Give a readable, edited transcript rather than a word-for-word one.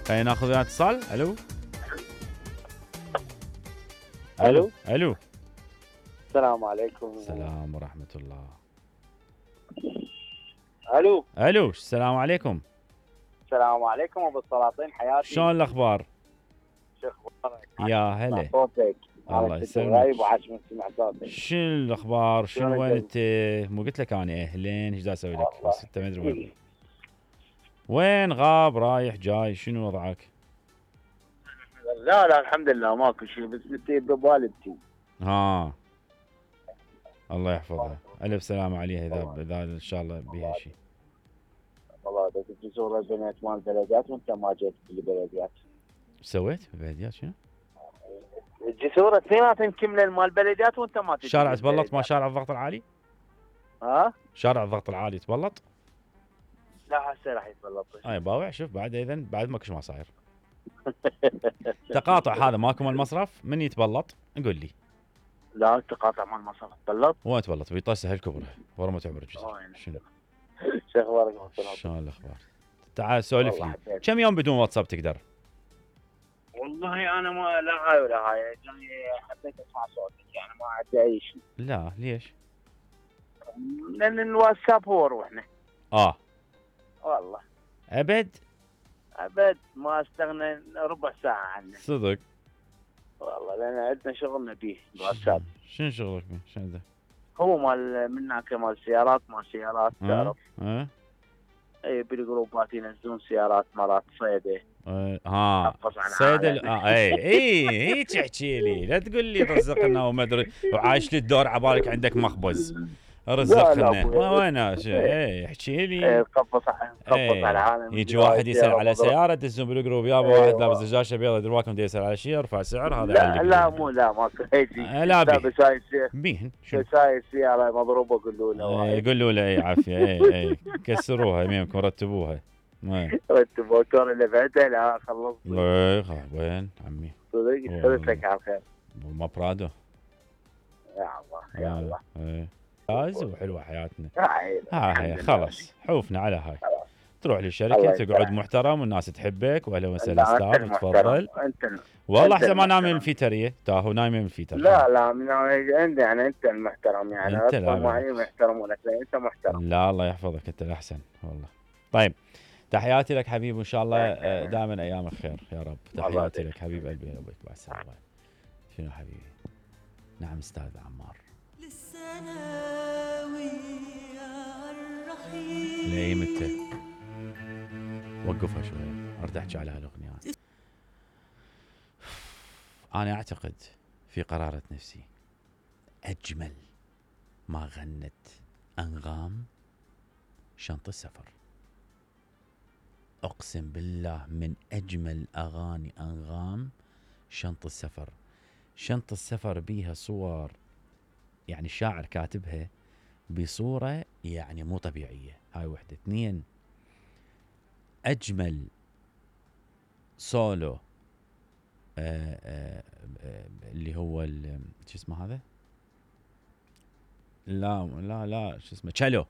خلينا ناخذ وياه اتصال. الو الو الو. السلام عليكم. السلام ورحمة الله. الو الو السلام عليكم. السلام عليكم ابو السلاطين، حياتي. شلون الاخبار؟ شو اخبارك؟ يا هلا. صوتك. الله أنا يسلمك. غايب وعاش من سمع صوتك. شنو الاخبار؟ شنو شلونك وين جاي؟ انت؟ مو قلت لك انا اهلين ايش دا اسوي لك؟ والله. بس انت ما ادري وين. وين غاب رايح جاي شنو وضعك؟ لا لا الحمد لله ماكو شيء، بس بدي بوالدتي. ها الله يحفظها. الف سلامة عليها اذا ان شاء الله بيها شيء. والله بدك تزور البنات مال البلديات وانت ما جيت بالبلديات. ايش سويت بالبلديات شنو؟ الجسور اثنيناتهم كملن مال البلديات وانت ما تجي. شارع تبلط ما شارع الضغط العالي؟ ها؟ شارع الضغط العالي تبلط؟ لا هسه راح يتبلط. اي باوع شوف بعد اذا بعد ماكو ما صاير. تقاطع هذا ماكو مال المصرف من يتبلط قول لي. لا التقاطع مال المصرف تبلط. وين تبلط؟ بيطسه الكبره ورا ما تعبر الجسر. شنو؟ شو اخبارك؟ شلون الاخبار؟ تعال سولف لي. كم يوم بدون واتساب تقدر؟ والله انا ما لا هاي ولا هاي، يعني حبيت اسمع صوتك، يعني ما عندي اي شيء. لا ليش؟ لان الواتساب هو روحنا. والله ابد ما استغنى ربع ساعه عنه. صدق؟ والله لان عندنا شغلنا به الواتساب. شنو شغلك به؟ شنو ده؟ هو مال من هناك مال سيارات تعرف. اي بالجروبات ينزلون سيارات مرات صيده. صيدة. اي هيك احكي لي، لا تقول لي رزقنا وما ادري وعايش لي الدور عبالك عندك مخبز. رزقنا وين اي احكي لي. قبص على العالم. يجي واحد يسال على سياره تدزون بالجروب يابا واحد لابس دجاجه بيضاء درواكم بده يسال على شيء يرفع سعر هذا. لا مو لا ماكو هيك. لا بيهن ساي السياره مضروبه قولوا له. قولوا له اي عافيه اي كسروها يمينكم رتبوها. رتبوا كون اللي بعده لا خلص. وين عمي؟ صدق لك على الخير. ما برادو. يا الله يا الله. فاز وحلوه حياتنا. هاي خلاص حوفنا على هاي. تروح للشركه تقعد محترم والناس تحبك واهلا وسهلا ستاف تفضل. والله احسن ما نايم من الفيتريه تاهو نايم من الفيتر. لا انت يعني انت المحترم يعني انت معي محترمونك انت محترم. لا الله يحفظك انت الاحسن والله. طيب تحياتي لك حبيب وان شاء الله دائما ايامك خير يا رب. تحياتي لك حبيب قلبي يا ابوك بعد السلامه. شنو حبيبي؟ نعم استاذ عمار. ليه متى؟ وقفها شويه اريد احكي على هالاغنيه. انا اعتقد في قرارة نفسي اجمل ما غنت انغام شنط السفر. اقسم بالله من اجمل اغاني انغام شنط السفر. شنط السفر بيها صور يعني الشاعر كاتبها بصورة يعني مو طبيعية. هاي وحدة. اثنين اجمل سولو اللي هو شو اسمه هذا؟ لا شو اسمه تشالو.